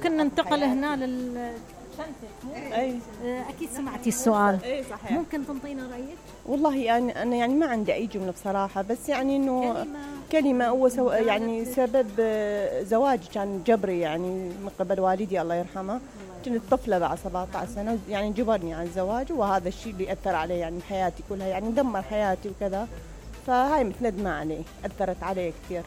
ممكن ننتقل هنا أي. أكيد سمعتي السؤال. أي صحيح. ممكن تنطينا رأيك؟ والله يعني أنا يعني ما عندي أي جملة بصراحة، بس يعني إنه كلمة هو يعني سبب زواجي كان جبري يعني من قبل والدي الله يرحمه. كنت طفلة بعد 17 سنة يعني جبرني على الزواج، وهذا الشيء اللي أثر علي يعني حياتي كلها، يعني دمر حياتي وكذا. فهاي متندمة عليه، أثرت علي كثير.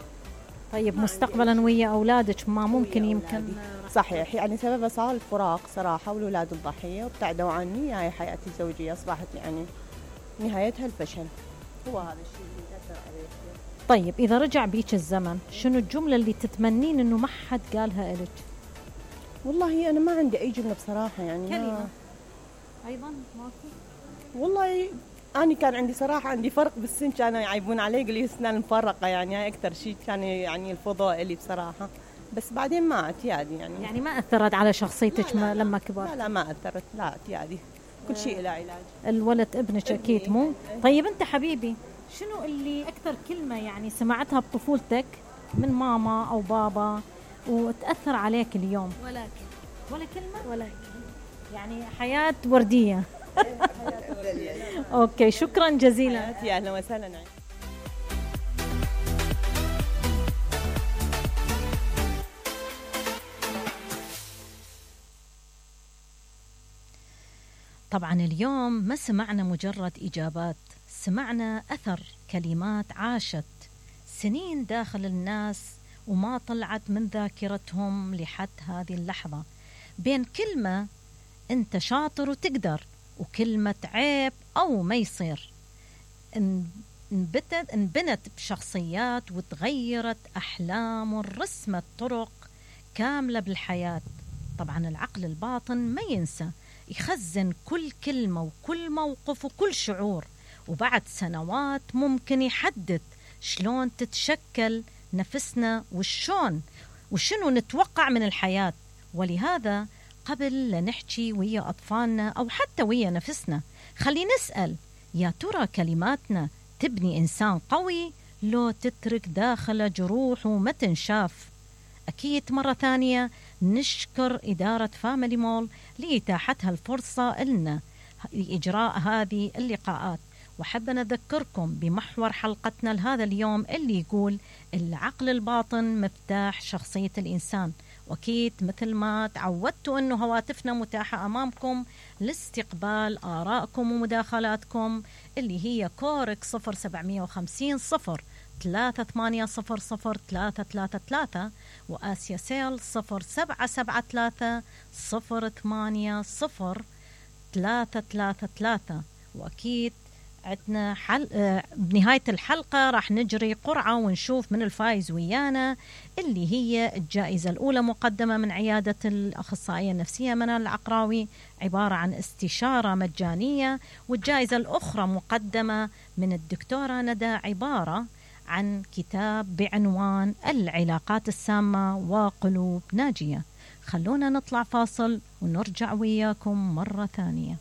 طيب مستقبلا ويا أولادك ما ممكن يمكن؟ صحيح يعني سببها صار الفراق صراحة، والأولاد الضحية وابتعدوا عني. هاي حياتي الزوجية أصبحت يعني نهايتها الفشل. هو هذا الشيء اللي أثر عليه. طيب إذا رجع بيك الزمن شنو الجملة اللي تتمنين إنه ما حد قالها إلك؟ والله أنا ما عندي أي جملة بصراحة يعني. كلمة أيضا ماكو؟ والله أنا كان عندي صراحة عندي فرق بالسن، كانوا يعيبون علي يقولوا لي أسنان مفرقة، يعني هاي أكثر شيء كان يعني الفضاء لي بصراحة. بس بعدين ما اعتيادي يعني ما أثرت على شخصيتك لما كبرت؟ لا ما أثرت، لا اعتيادي، كل شيء له علاج. الولد ابنك أكيد مو؟ طيب أنت حبيبي شنو اللي أكثر كلمة يعني سمعتها بطفولتك من ماما أو بابا وتأثر عليك اليوم؟ ولا كلمة؟ يعني حياة وردية. أوكي شكرا جزيلا. أهلا وسهلا. طبعا اليوم ما سمعنا مجرد إجابات، سمعنا أثر كلمات عاشت سنين داخل الناس وما طلعت من ذاكرتهم لحد هذه اللحظة، بين كلمة أنت شاطر وتقدر وكلمة عيب أو ما يصير، انبنت بشخصيات وتغيرت أحلام ورسمت طرق كاملة بالحياة. طبعا العقل الباطن ما ينسى، يخزن كل كلمة وكل موقف وكل شعور، وبعد سنوات ممكن يحدد شلون تتشكل نفسنا وشنو نتوقع من الحياة. ولهذا قبل لا نحكي ويا أطفالنا أو حتى ويا نفسنا خلينا نسأل يا ترى كلماتنا تبني إنسان قوي لو تترك داخله جروح وما تنشاف؟ أكيد مرة ثانية نشكر إدارة فاميلي مول لإتاحتها الفرصة لنا لإجراء هذه اللقاءات، وحابة نذكركم بمحور حلقتنا لهذا اليوم اللي يقول العقل الباطن مفتاح شخصية الإنسان. وأكيد مثل ما تعودتوا أنه هواتفنا متاحة أمامكم لاستقبال آرائكم ومداخلاتكم اللي هي كورك 0750 03800333 وآسيا سيل 0773 080 وأكيد عندنا بنهاية الحلقة راح نجري قرعة ونشوف من الفائز ويانا اللي هي الجائزة الأولى مقدمة من عيادة الأخصائية النفسية منال العقراوي عبارة عن استشارة مجانية، والجائزة الأخرى مقدمة من الدكتورة ندى عبارة عن كتاب بعنوان العلاقات السامة وقلوب ناجية. خلونا نطلع فاصل ونرجع وياكم مرة ثانية.